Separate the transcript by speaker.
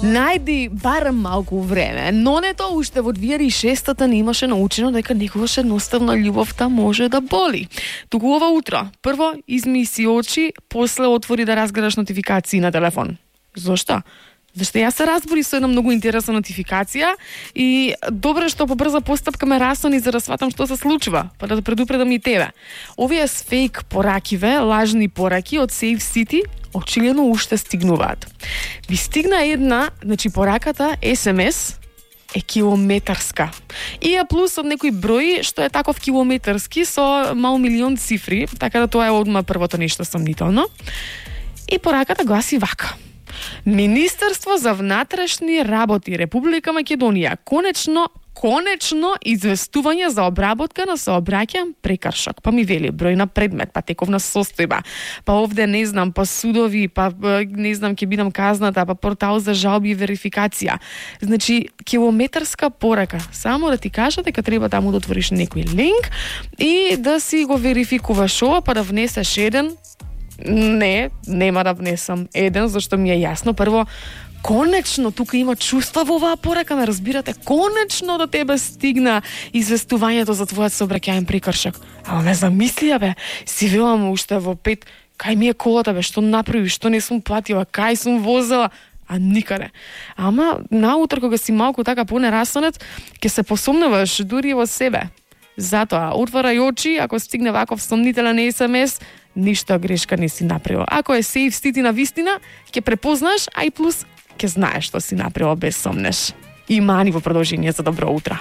Speaker 1: Најди барем малку време, но не тоа уште во 2006-та не имаше научено дека некогаш едноставно љубовта може да боли. Туку ова утро, прво изми си очи, после отвори да разгледаш нотификации на телефон. Зошто? Зашто јас се разбори со една многу интересна нотификација и добро што по брза постапка ме расони за да сватам што се случува, па да предупредам и тебе. Овие фейк поракиве, лажни пораки од Safe City очигледно уште стигнуваат. Ви стигна една, пораката SMS е километарска. И ја плюс од некој број што е таков километарски со мал милион цифри, така да тоа е одма првото нешто сомнително. И пораката гласи вака: Министерство за внатрешни работи Република Македонија конечно известување за обработка на сообраќајен прекршок. Па ми вели број на предмет, па тековна состојба, па овде не знам, па судови, па не знам ќе бидам казната, па портал за жалби и верификација. Значи километарска порака. Само да ти кажа дека треба таму да отвориш некој линк и да си го верификуваш ова, па да внесеш еден. Не, нема да внесам еден, зашто ми е јасно. Прво, конечно, тука има чувства во оваа порака, ме разбирате? Конечно до тебе стигна известувањето за твојот сообраќајен прекршок. Ама ме замислија, бе, си велам уште во 5, кај ми е колата, бе, што направи, што не сум платила, кај сум возела, а никаде. Ама наутро кога си малку така понерасонет, ќе се посомнуваш дури во себе. Затоа, отворај очи, ако стигне ваков сомнителен SMS, ништо грешка не си направил. Ако е Safe City на вистина, ќе препознаш, а и плюс ќе знаеш што си направил без сомнеш. И мани во продолжение за добро утро.